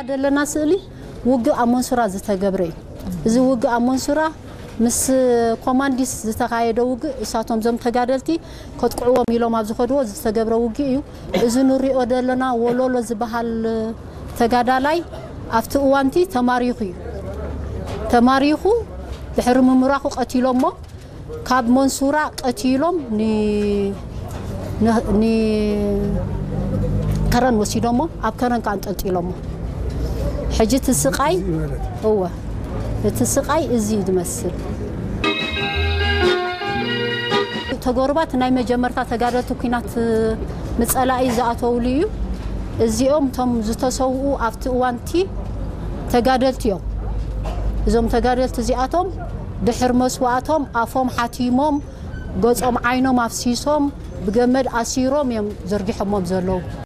ዘለና ስእሊ ውግእ ኣብ መንሱራ ዝተገብረ እዩ። እዚ ውግእ ኣብ መንሱራ ምስ ኮማንዲስ ዝተኻየደ ውግእ፣ እሳቶም እዞም ተጋደልቲ ከጥቅዕዎም ኢሎም ኣብ ዝኸድዎ ዝተገብረ ውግእ እዩ። እዚ ንሪኦ ዘለና ወሎሎ ዝበሃል ተጋዳላይ ኣብቲ እዋንቲ ተማሪኹ እዩ። ተማሪኹ ድሕሪ ምምራኹ ቀቲሎሞ። ካብ መንሱራ ቀቲሎም ን- ን- ን- ከረን ወሲዶሞ፣ ኣብ ከረን ከኣ ኣንጠልጢሎሞ። ሕጂ እቲ ስቃይ እወ፣ እቲ ስቃይ እዚ እዩ ዝመስል። ተጎርባት ናይ መጀመርታ ተጋደልቲ ኩናት ምጸላኢ ዝኣተውሉ እዩ። እዚኦም እቶም ዝተሰውኡ ኣብቲ እዋንቲ ተጋደልቲ እዮም። እዞም ተጋደልቲ እዚኣቶም ድሕር መስዋእቶም ኣፎም ሓቲሞም፣ ገጾም ዓይኖም ኣፍሲሶም፣ ብገመድ ኣሲሮም እዮም ዘርጊሖሞም ዘለዉ።